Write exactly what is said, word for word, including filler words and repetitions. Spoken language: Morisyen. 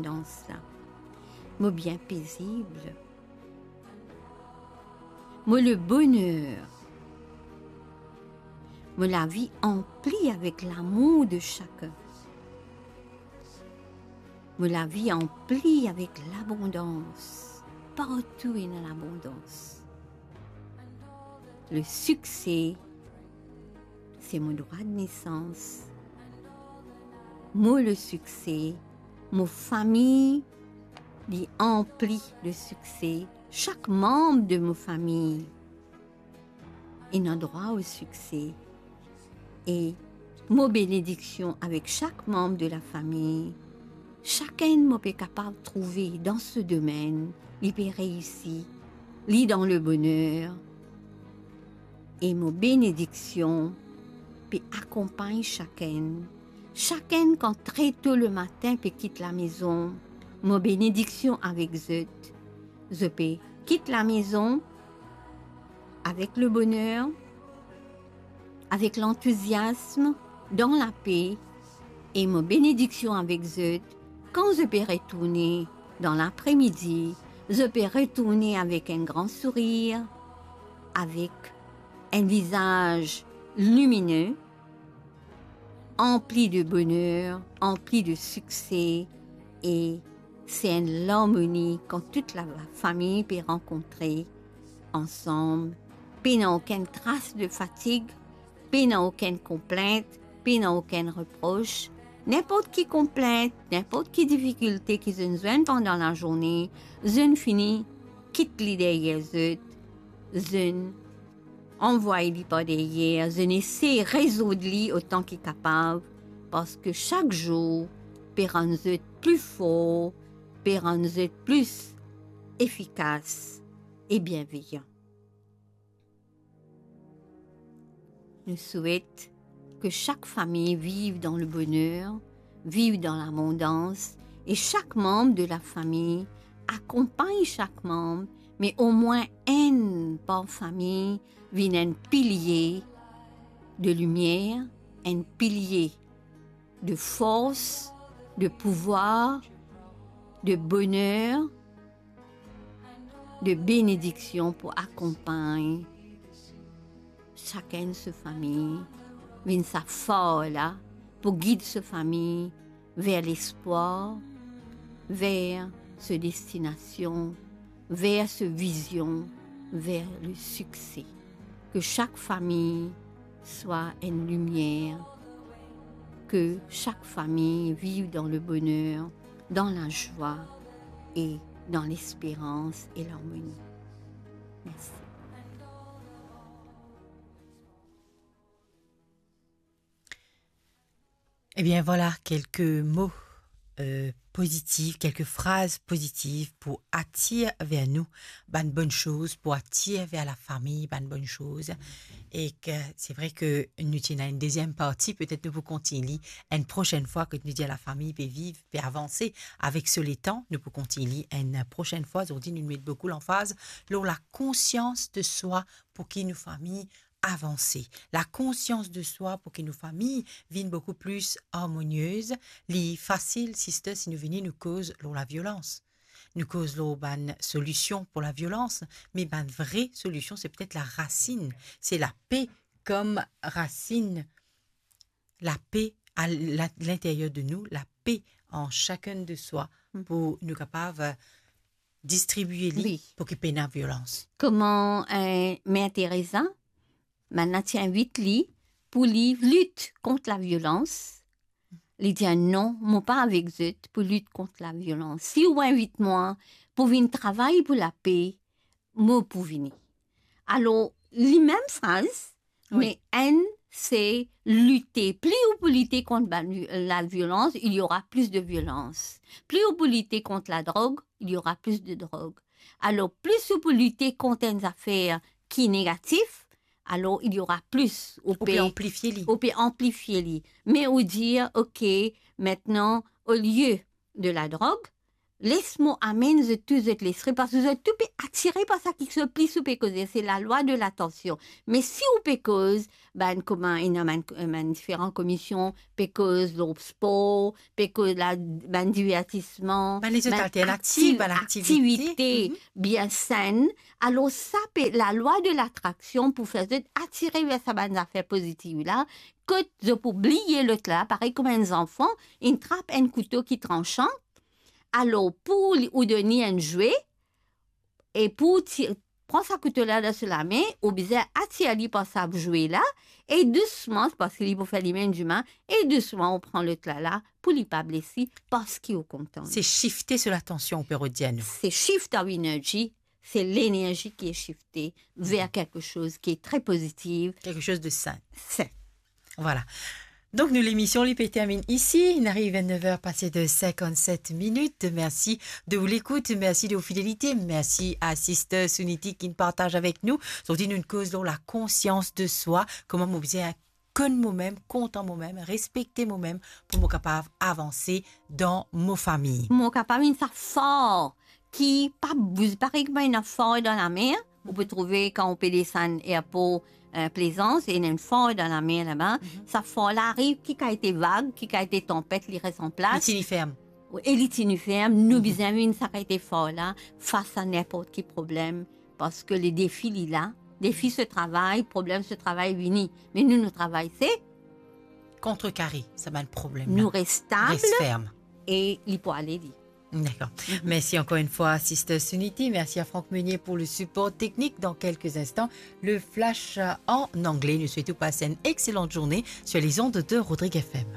linportans la. Mo bien pezib. Mo le boner. Mo lavi anpli avek lamour de sakenn. Mo lavi anpli avek labondans. Partou ena labondans. Le sikse, se mo drwa de nesans. Mo le sikse, mo fami, li anpli de sikse. Sak manm de mo fami ena drwa o sikse. E mo benediksion avek sak manm de lafami. Sakenn mo pe kapav trouve dan so domenn, li pe reisi, li dan le boner. E mo benediksion pe akonpagn sakenn. Sakenn kan tre to lematin pe kit lamezon, mo benediksion avek zot. Zot pe kit lamezon avek le boner, avek lantouziasm, dan lape, e mo benediksion avek zot. Kan zot pe retourne dan lapremidi, zot pe retourne avek enn gran sourir, avek enn vizaz limine, anpli de boner, anpli de sikse, e se enn larmoni kan tou lafami pe rankontre ansam, pena okenn tras de fatig, pena okenn konplint, pena okenn repros. Ninport ki konplint, ninport ki difikilte ki zot inn zwenn pandan lazourne, zot inn fini kit li deryer zot, zot inn anvway li par deryer, zot inn esey rezourd li otan ki kapav, parski sak zour pe rann zot pli for, pe rann zot pli efikas e bienveyan. Nou swet ki sak fami viv dan le boner, viv dan labondans, e sak manm de lafami akonpagn sak manm, me omwin enn par fami vinn enn pilie de limier, enn pilie de fors, de pouvwar, de boner, de benediksion pou akonpagn sakenn so fami, vinn sa far la pou gid so fami ver lespwar, ver so destinasion, ver so vizion, ver le sikse. Ki sak fami swa enn limier, ki sak fami viv dan le boner, dan lazwa e dan lesperans e larmoni. Mersi. Ebien, vwala kelke mo, euh, pozitif, kelke fraz pozitif pou atir ver nou bann bonn soz, pou atir ver lafami bann bonn soz. E ki se vre ki nou ti ena enn deziem parti, petet nou pou kontign li enn prosenn fwa, kot nou dir lafami pe viv, pe avanse avek so letan, nou pou kontign li enn prosenn fwa. Zordi, nou met boukou lanfaz lor lakonsians de swa pou ki nou fami avanse. Lakonsians de swa pou ki nou fami vinn boukou pli armoniez. Li fasil, sister, si nou vini, nou koz lor laviolans. Nou koz lor bann solision pou laviolans, me bann vre solision, se petet larasinn. Se lape kom rasinn. Lape a la-, linteryer de nou, lape an sakenn de swa, mm, pou nou kapav, euh, distribie li, wi, pou ki pena violans. Kouma, euh, Mer Teresa, bann la ti invit li pou li lit kont laviolans. Li dir, "Non, mo pa avek zot pou lit kont laviolans. Si ou invit mwa pou vinn travay pou lape, mo pou vini." Alor, li mem fraz, wi, me enn se lite. Pli ou pou lite kont bann vi-, laviolans, il y aura plus de violence. Pli ou pou lite kont ladrog, il y aura plus de drogue. Alor, plis ou pou lite kont enn zafer ki negatif, alor il y aura plus, ou pe anplifie li. Ou pe anplifie li. Me ou dir, ok, aster, olie de ladrog, les mo amenn zot tou, zot lespri, parski zot tou pe atire par sa ki zot plis ou pe koze, se lalwa de latansion. Me si ou pe koz, bann kouma, ena bann, bann diferan komision, pe koz lor spor, pe koz la, bann divertisman, Bann lezot bann alternativ, aktiv-, bann aktivite. aktivite Mhm. bien senn. Alor sa pe, lalwa de latraksion pou fer zot atire ver sa bann zafer pozitif la, kot zot pou bliye lot la, parey kouma enn zanfan, inn trap enn kouto ki transan, alor pou li, ou donn li enn zwe, e pou ti, pran sa kouto la dan so lame, ou bizin atir li par sa zwe la, e dousman, parski li pou fer limem dimal, e dousman ou pran lot la la, pou li pa bles li, parski ou kontan li. Se shifte so latansion, ou pe redir nou. Se shift our energy, se lenerzi ki e shifte ver kelke soz ki e tre pozitiv. Quelque chose de sain. Sain. Voilà. Donk nou, lemision li pe terminn isi. Inn ariv a nev er pase de sinkant-set minit. Mersi de ou lekout, mersi de ou fidelite, mersi a Sister Suniti ki'nn partaz avek nou. Zordi nou'nn koz lor la konsians de swa, kouma mo bizin konn momem, kontan momem, respekte momem, pou mo kapav avanse dan mo fami. Mo kapav vinn sa far ki pa bouz, parey kouma ena far dan lamer, ou pe trouve kan ou pe desann erpor, eh, Plaisance, ena enn far dan lamer laba. Mhm. Sa far la ariv, ki kalite vag, ki kalite tanpet, li res an plas. Li tini ferm. E li tini ferm, nou Mhm. bizin vinn sa kalite far la, fas a ninport ki problem, parski le defi li la, defi se travay, problem se travay vini. Me nou, nou travay se kontrekare sa bann problem la. Nou res stab Res ferm. e li pou ale li. D'accord. Mhm. Merci encore une fois, Sister Suniti. Merci à Franck Meunier pour le support technique. Dans quelques instants, le flash, euh, en anglais. Nous souhaitons passer une excellente journée sur les ondes de Rodrigue F M.